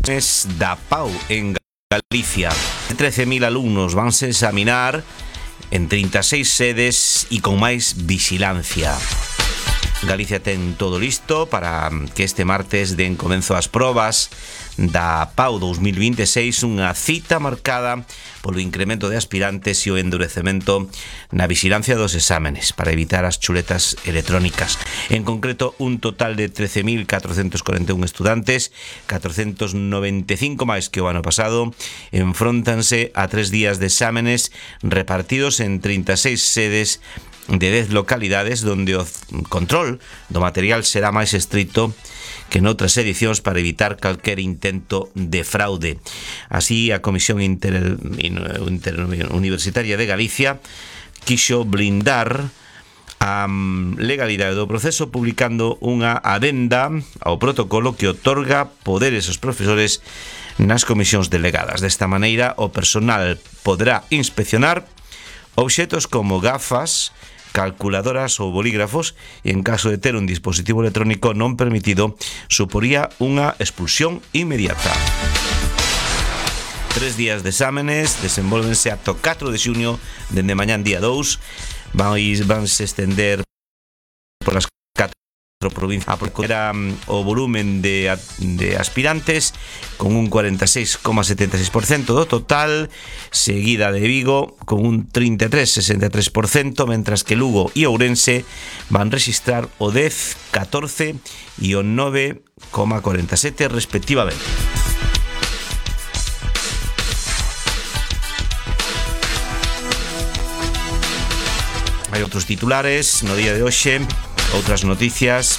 da PAU en Galicia. 13.000 alumnos vanse examinar en 36 sedes e con máis vigilancia. Galicia ten todo listo para que este martes den comenzo as probas da PAU 2026, unha cita marcada polo incremento de aspirantes e o endurecemento na vigilancia dos exámenes para evitar as chuletas electrónicas. En concreto, un total de 13.441 estudantes, 495 máis que o ano pasado, enfróntanse a 3 días de exámenes repartidos en 36 sedes de 10 localidades donde o control do material será máis estrito que noutras edicións para evitar calquer intento de fraude. Así, a Comisión Universitaria de Galicia quixo blindar a legalidade do proceso publicando unha adenda ao protocolo que otorga poderes aos profesores nas comisións delegadas. Desta maneira, o personal poderá inspeccionar obxetos como gafas, calculadoras ou bolígrafos e en caso de ter un dispositivo electrónico non permitido suporía unha expulsión inmediata. 3 días de exámenes desenvolvense ata o 4 de xunio dende mañán día 2 vanse estender polas 4 provincias. Era o volumen de aspirantes con un 46,76% do total, seguida de Vigo con un 33,63%, mentras que Lugo e Ourense van registrar o 10, 14 e o 9,47 respectivamente. Hai outros titulares no día de hoxe. Outras noticias.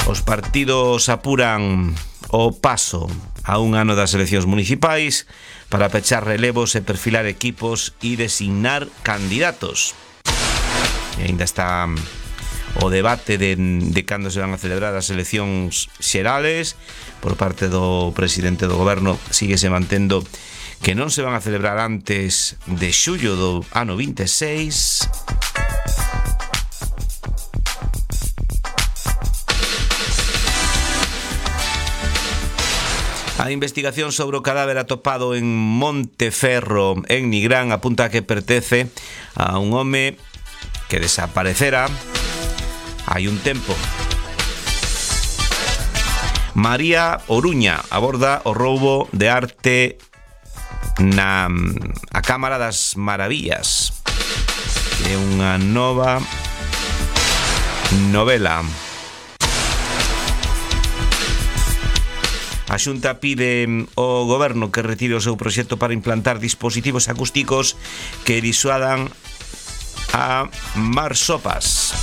Os partidos apuran o paso a un ano das eleccións municipais para pechar relevos e perfilar equipos e designar candidatos. E ainda está o debate de cando se van a celebrar as eleccións xerales. Por parte do presidente do goberno síguese mantendo que non se van a celebrar antes de xullo do ano 26. A investigación sobre o cadáver atopado en Monteferro, en Nigrán, apunta que pertence a un home que desaparecera hai un tempo. María Oruña aborda o roubo de arte na a Cámara das Maravillas, que é unha nova novela. A Xunta pide ao goberno que retire o seu proxecto para implantar dispositivos acústicos que disuadan a marsopas.